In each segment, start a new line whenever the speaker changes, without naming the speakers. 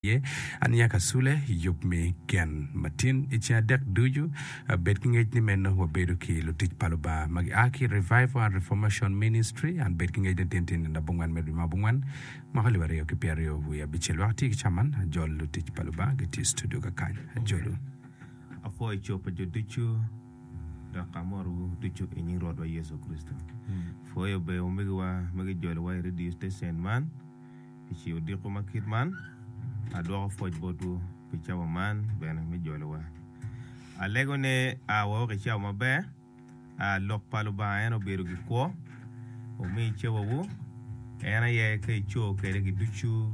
Iye aniya kasule yub me gen matin i ceng adek ducu. Bed ki ngec ni meno wabedo ki lutic pa Lubanga ma gia ki i Revival and Reformation Ministry. An bed ki ngec ni tin tye nino abongwen me dwe me abongwen mwaka alip aryo ki pyeraryo wiye abicel. Wek ati ki caman ajol lutic pa Lubanga gitye i studio kakany. Ajolu.
Apwoyo co pa jo ducu dok amotowu ducu i nying Rwotwa Yecu Kricito. Pwoyo ber omegiwa ma gijolowa i radio station man. I ci odiko ma kit man, adwoko pwoc botwu pi cawa man bene me jolowa. Alego ni a wawek i cawa maber. A Lok pa Lubanga en obedo gikwo. Wumi cawawu, en aye ka ico kwede gi ducu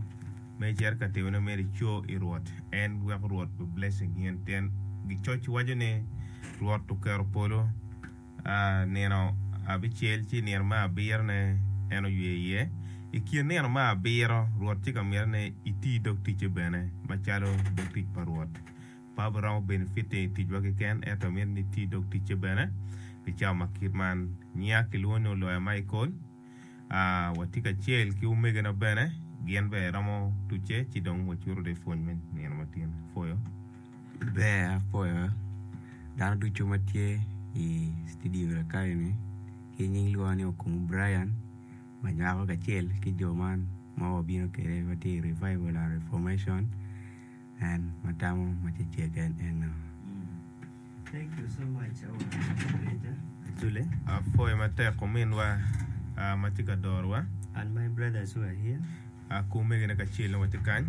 ma icito ka timone myero ico i Rwot. En weko Rwot be blessing in pien gicoc waco ni Rwot oketo polo. Nino abicel ci nino me abirone en oywe iye. I kin nino me abiro, Rwot tye ka mito ni iti dog ticce bene macalo dog tic pa Rwot. Pe wabiromo benefiting i ticwa keken, ento mito ni iti dog ticce bene pi cawa ma kit man. Nyinga kilwongo ni Oloya Michael. Watye kacel ki omegina bene, gin bene romo tucce ci dong wacuto de pwony me nino matin. Apwoyo.
Ber apwoyo dano ducu ma tye i studio kakani ki nying lwonga ni Okumu Brian ma nywako kacel ki jo man ma wabino kwede ma tye i Revival and Reformation. En ma tamo ma cecek en eno.
Apwoyo matek ominwa ma tye ka dorowa. Ki omegine kacel nongo watye kany.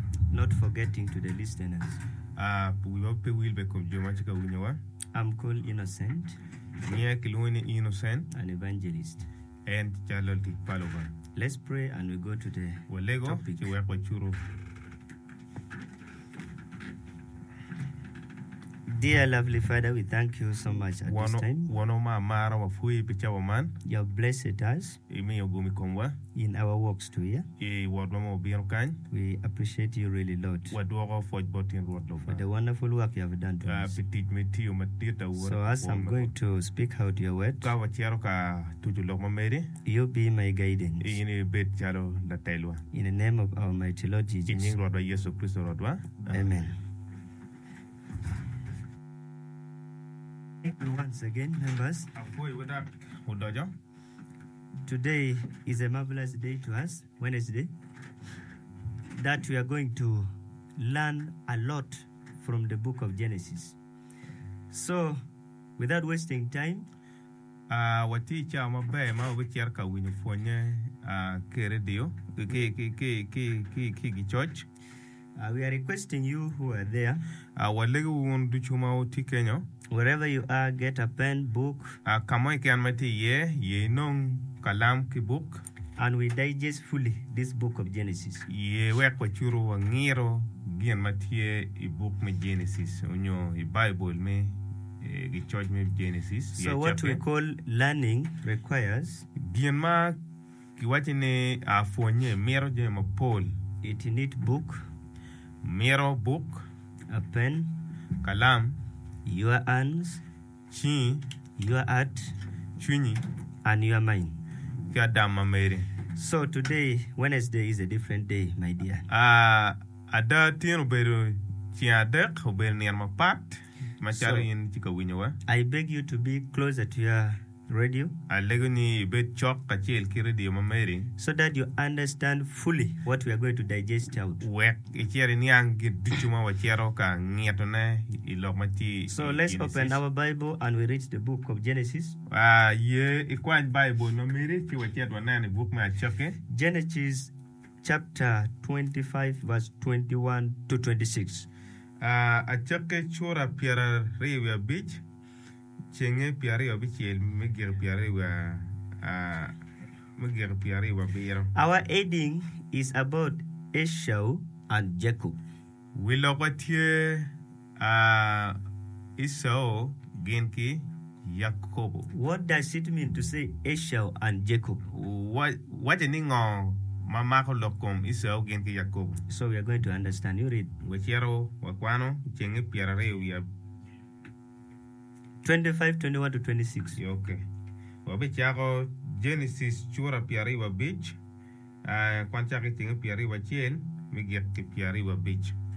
Wiwa pe wil bene i kom jo ma tye ka winyowa. Nyinga kilwongo ni Innocent. En calo latic pa Lubanga. Walego ci wek wacutu.
Dear lovely Father, we thank you so much at this time.
Wonwa ma amara, wapwoyi pi cawa man.
You have blessed us
Imiyo gum i komwa
in our walks to here.
i wotwa ma wabino kany.
We appreciate you really, Lord,
Wadwoko pwoc bot in Rwot
for the
Lubanga
wonderful work you have done to us.
pi tic ma itiyo madit aura
So as I'm going to speak out your word,
Ka wacito ka tuco lok ma meri,
you be my guidance.
in ibed calo latelwa.
In the name of our mighty Lord
I
Jesus.
nying Rwotwa Yecu Kricito Rwotwa.
Amen. Thank you once again, members.
Apwoyowu dok odoco.
Today is a marvelous day to us, Wednesday, that we are going to learn a lot from the book of Genesis. So, without wasting time,
Ah, watye i cawa maber ma wabicito ka winyo pwonnye ah, ki i redio ki, ki, ki, ki, ki, ki i gicoc.
Uh, we are requesting you who are there,
Uh, walegowu wun ducu ma wutye kenyo,
wherever you are, get a pen, book,
uh, ka mo keken ma itye iye, ye inong kalam ki buk,
and we digest fully this book of Genesis.
ye wek wacutu wangiro gin ma tye i buk me Genesis onyo i Baibul me eh, gicoc me Genesis i
So what we
acakki.
call learning requires
Gin ma Kiwacci ni pwonnye mito jami mapol.
It need book.
Mito buk.
A pen.
Kalam.
Your hands.
Cingi.
Your heart.
Cwinyi.
And your mind.
Ki adam ma meri.
So today, Wednesday is a different day, my dear.
Ada tin obedo ceng adek, obedo nino mapat macalo
So,
in itye ka winyowa.
I beg you to be closer to your radio.
Alego ni ibed cok kacel ki redio ma meri.
So that you understand fully what we are going to digest out.
Wek icit iniang gin ducu ma wacito ka ngitone i lok ma tye i
So let's open
Genesis.
our Bible and we read the book of Genesis.
Ye ikwany Baibul ma meri ci wacit wanen i buk me Acakki.
Genesis chapter 25 verse 21 to 26.
Acakki cura 25. Cenge 26 me giko 27.
Our heading is about Esau and Jacob.
Wi lokwa tye Ecau gin ki Yakobo.
What does it mean to say Esau and Jacob?
Waco ni ngo ma mako lok kom Ecau gin ki Yakobo?
So we are going to understand. You read.
Wacito wakwano cenge pyeraryo wiye.
25, 21 to 26.
Ok. Wabicako Genesis cura 25, kwan cako ki cenge 21 me gik ki 25.